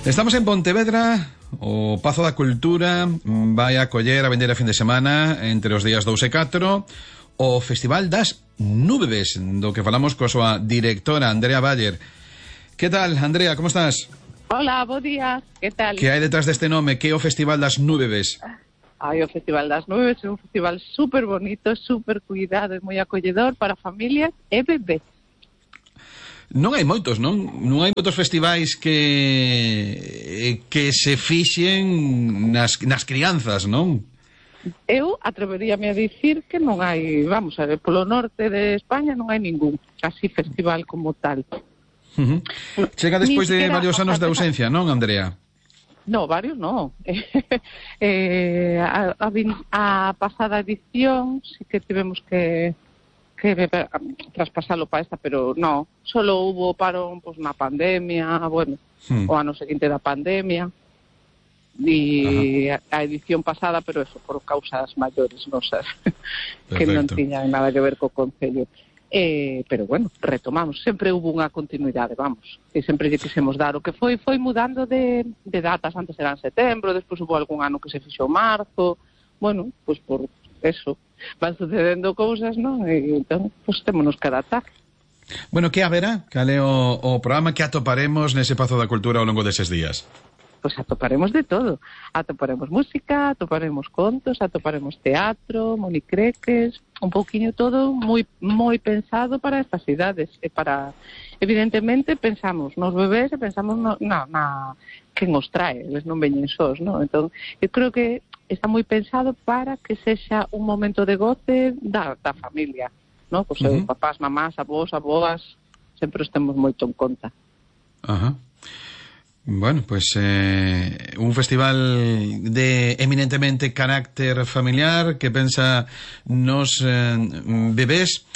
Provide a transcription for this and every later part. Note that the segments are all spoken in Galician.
Estamos en Pontevedra, o Pazo da Cultura vai acoller a vender a fin de semana entre os días 2 e 4 o Festival das Núbebes, do que falamos coa súa directora Andrea Bayer. Que tal, Andrea, como estás? Hola, bo día, que tal? Que hai detrás deste nome? Que é o Festival das Núbebes? O Festival das Núbebes é un festival super bonito, super cuidado e moi acolledor para familias e bebés. Non hai moitos, non? Non hai moitos festivais que se fixen nas crianzas, non? Eu atreveríame a dicir que non hai, vamos a ver, polo norte de España non hai ningún así festival como tal. Chega despois de varios anos de ausencia, non, Andrea? No, varios non. A pasada edición sí que tivemos que traspasalo para esta, pero no, solo hubo parón pues, na pandemia, bueno, o ano seguinte da pandemia, e a edición pasada, pero eso, por causas maiores, non sei, que non tiñan nada que ver co Concello. Pero bueno, retomamos, sempre hubo unha continuidade, vamos, e sempre lle quisemos dar o que foi mudando de datas, antes eran setembro, despois hubo algún ano que se fixou marzo, bueno, pues por eso, van sucedendo cousas, non? E entón, pues témonos que adaptar. Bueno, que haberá? Cal é o programa que atoparemos nese Pazo da Cultura ao longo deses días? Pois atoparemos de todo. Atoparemos música, atoparemos contos, atoparemos teatro, monicreques, un pouquiño todo moi pensado para estas idades. E para, evidentemente, pensamos nos bebés e pensamos na que nos trae, eles non veñen sós, non? Entón, eu creo que está moi pensado para que sexa un momento de goce da familia, non? Pois papás, mamás, avós, aboas, sempre os temos moito en conta. Bueno, pues un festival de eminentemente carácter familiar que pensa nos bebés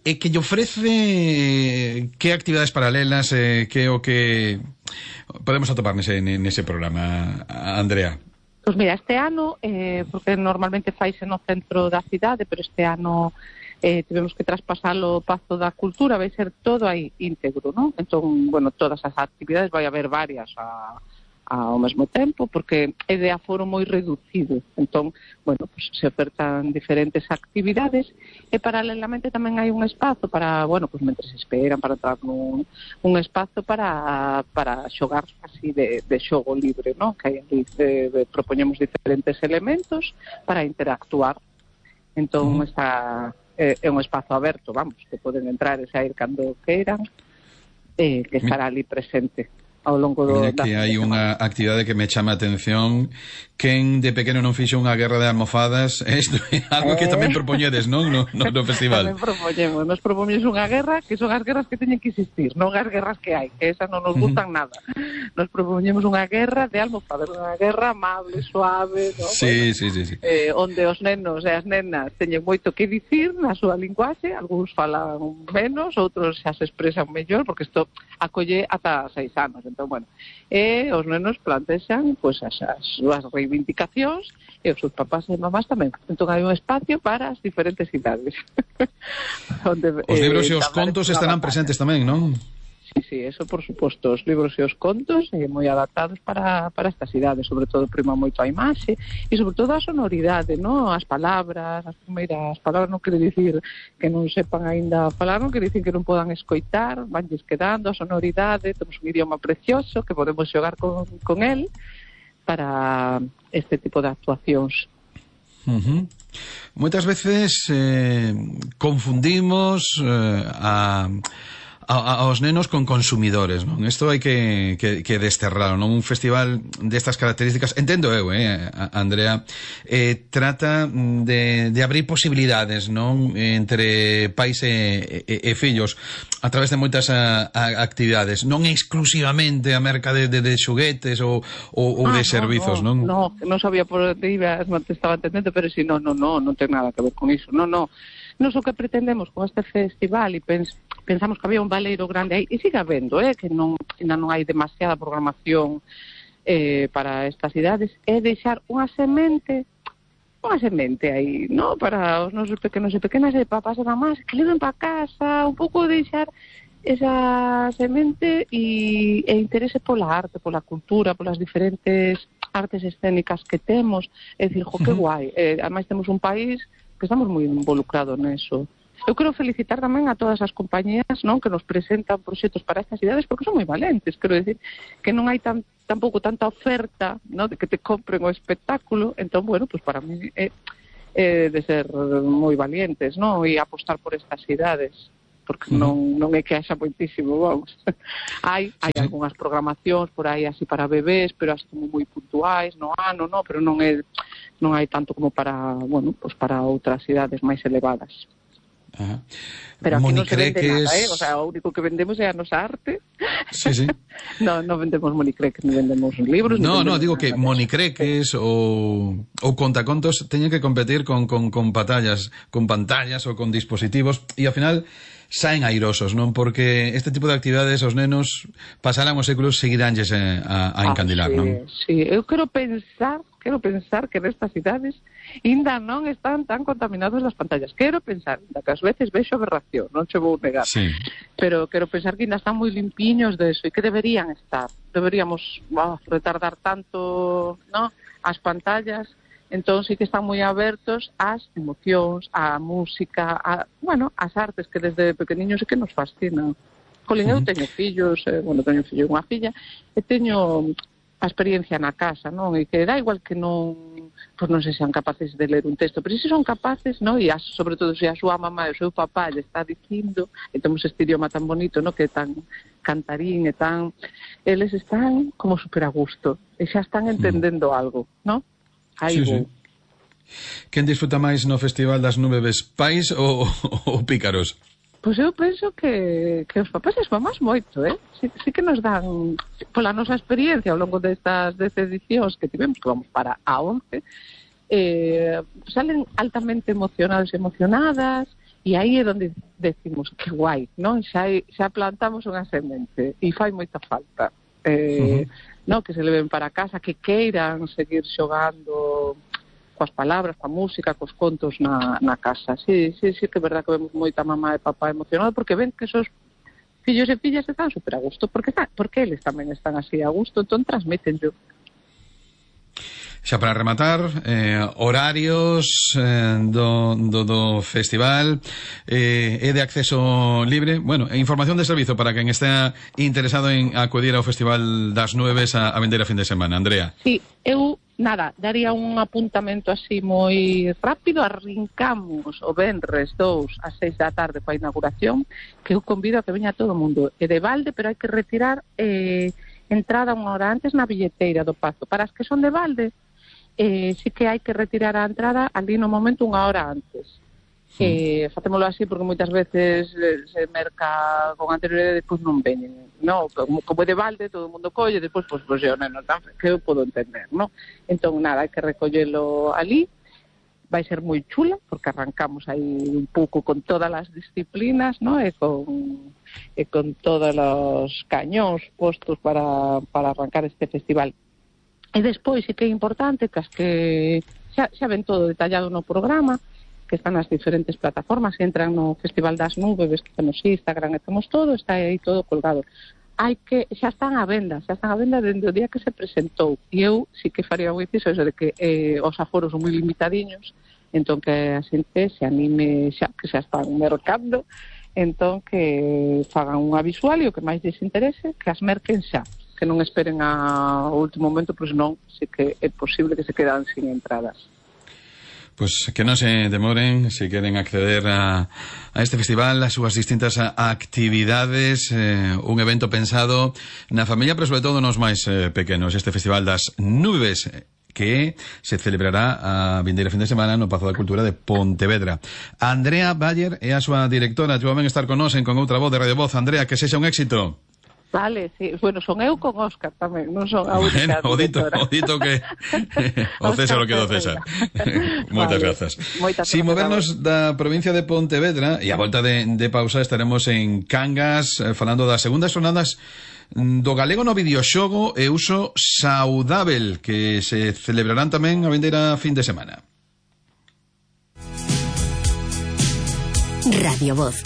e que lle ofrece que actividades paralelas que o que podemos atopar nese programa, Andrea. Pois mira, este ano, porque normalmente faise no centro da cidade, pero este ano tivemos que traspasalo ao Pazo da Cultura, vai ser todo aí íntegro, non? Entón, bueno, todas as actividades vai haber varias ao mesmo tempo, porque é de aforo moi reducido. Entón, bueno, pues se ofertan diferentes actividades e paralelamente tamén hai un espazo para, bueno, pues mentre se esperan para entrar nun espazo para xogar así de xogo libre, non? Que aí propoñemos diferentes elementos para interactuar. Entón, é un espazo aberto, vamos, que poden entrar e sair cando queiran, que estará ali presente ao longo do... Mira que hai unha actividade que me chama a atención. Quen de pequeno non fixo unha guerra de almofadas? Isto é algo que tamén propoñedes, non? No festival. Tamén nos propoñemos unha guerra, que son as guerras que teñen que existir, non as guerras que hai, que esas non nos gustan nada. Nos propoñemos unha guerra de almofadas, unha guerra amable, suave, non? Sí, bueno, sí. onde os nenos e as nenas teñen moito que dicir na súa linguaxe, algúns falan menos, outros xa se expresan mellor, porque isto acolle ata 6 anos. Entón, bueno, os nenos plantexan pues, as súas reivindicacións e os seus papás e mamás tamén. Entón hai un espacio para as diferentes idades. Onde, os libros e os contos estarán presentes tamén, non? Sí, eso por suposto, os libros e os contos moi adaptados para estas idades, sobre todo prima moito a imaxe e sobre todo a sonoridade, non? As palabras, as primeiras palabras non quere dicir que non sepan aínda falar, non quere dicir que non podan escoitar, vanlles quedando a sonoridade, temos un idioma precioso que podemos xogar con el para este tipo de actuacións. Moitas veces confundimos aos nenos con consumidores, non? Isto hai que desterralo, non? Un festival destas características, entendo eu, Andrea, trata de abrir posibilidades, non? Entre pais e fillos a través de moitas actividades, non exclusivamente a merca de xoguetes ou de servizos, non? Non sabía por onde ibas, non te estaba entendendo, pero si non ten nada que ver con iso, non. Nos o que pretendemos con este festival e pensamos que había un baleiro grande aí, e sigue habendo, que ainda non hai demasiada programación para estas idades, é deixar unha semente aí, non? Para os nosos pequenos e pequenas e papás e mamás que leven para casa, un pouco deixar esa semente e interese pola arte, pola cultura, polas diferentes artes escénicas que temos. É dicir, que guai. Ademais temos un país que estamos moi involucrados neso. Eu quero felicitar tamén a todas as compañías, non, que nos presentan proxectos para estas cidades, porque son moi valentes. Quero decir que non hai tampouco tanta oferta, non, de que te compren o espectáculo. Entón, bueno, pues para mí é de ser moi valientes, non, e apostar por estas cidades, porque non é que haxa moitísimo, vamos. Hai algunhas programacións por aí así para bebés, pero así como moi puntuais no ano, non, pero non hai tanto como para, bueno, pues para outras cidades máis elevadas. Ajá. Pero aquí non se vende nada, o sea, o único que vendemos é a nosa arte. Sí, sí. non vendemos monicreques, non vendemos libros. No, digo que monicreques ou contacontos teñen que competir con pantallas ou con dispositivos, e ao final saen airosos, non? Porque este tipo de actividades os nenos pasarán os séculos, seguiránlles a encandilar, non? Sí, eu quero pensar que nestas cidades ainda non están tan contaminados as pantallas. Quero pensar, que ás veces vexo aberración, non che vou negar. Sí. Pero quero pensar que ainda están moi limpiños de eso e que deberían estar. Deberíamos retardar tanto, ¿no?, as pantallas. Entón sí que están moi abertos ás emocións, á música, ás artes que desde pequeniños sí que nos fascinan. Colín, eu teño fillos, teño un fillo e unha filla, e teño a experiencia na casa, non? E que dá igual que non, pois non se sean capaces de ler un texto, pero se son capaces, non? E sobre todo se a súa mamá e o seu papá lle está dicindo, e temos este idioma tan bonito, non? Que é tan cantarín e tan... Eles están como super a gusto, e xa están entendendo algo, non? Aí vou. Quen disfruta máis no Festival das Núbebes, pais ou pícaros? Pois eu penso que os papás e as mamás moito, sí que nos dan, pola nosa experiencia ao longo destas 10 edicións que tivemos, que vamos para a 11, salen altamente emocionados e emocionadas, e aí é onde decimos que guai, non? Xa plantamos unha semente e fai moita falta. Non, que se leven para casa, que queiran seguir xogando coas palabras, coa música, cos contos na casa. Sí, que é verdad que vemos moita mamá e papá emocionados porque ven que esos fillos e fillas están super a gusto, porque eles tamén están así a gusto, entón transmítenlo. Xa para rematar, horarios do festival, é de acceso libre, información de servizo para quen estea interesado en acudir ao Festival das Núbebes a vender a fin de semana. Andrea. Sí, eu daría un apuntamento así moi rápido. Arrincamos o venres 2 ás 6 da tarde coa inauguración, que eu convido a que veña todo o mundo. É de balde, pero hai que retirar entrada unha hora antes na billeteira do Pazo. Para as que son de balde, sí que hai que retirar a entrada ali no momento unha hora antes. Facémolo así porque moitas veces se merca con anterioridade e depois non veñen, non? Como é de balde, todo o mundo colle, depois pois o neno tan que eu podo entender, non? Entón hai que recollelo ali. Vai ser moi chula porque arrancamos aí un pouco con todas as disciplinas, non? E con todos os cañóns postos para arrancar este festival. E despois sí que é importante que as que xa ven todo detallado no programa, que están nas diferentes plataformas, que entran no Festival das Núbebes, que temos Instagram, e temos todo, está aí todo colgado. Xa están á venda dende o día que se presentou, e eu sí que faría un inciso eso de que os aforos son moi limitadiños, entón que a xente se anime xa, que xa están mercando, entón que fagan unha visual e o que máis lles interese, que as merquen xa, que non esperen ao último momento, pois non, sí que é posible que se quedan sin entradas. Pois que non se demoren se queren acceder a este festival, as súas distintas actividades, un evento pensado na familia, pero sobre todo nos máis pequenos, este Festival das Núbebes, que se celebrará a vindeira fin de semana no Pazo da Cultura de Pontevedra. Andrea Bayer é a súa directora, que van estar con nos en Con Outra Voz de Radio Voz. Andrea, que sexa un éxito. Vale, sí. Bueno, son eu con Óscar tamén, non son a única directora. O dito que o César o que do César. Moitas grazas. Si movernos da provincia de Pontevedra, e a volta de pausa estaremos en Cangas falando das segundas jornadas do galego no videoxogo e uso saudável, que se celebrarán tamén a vindeira fin de semana. Radio Voz.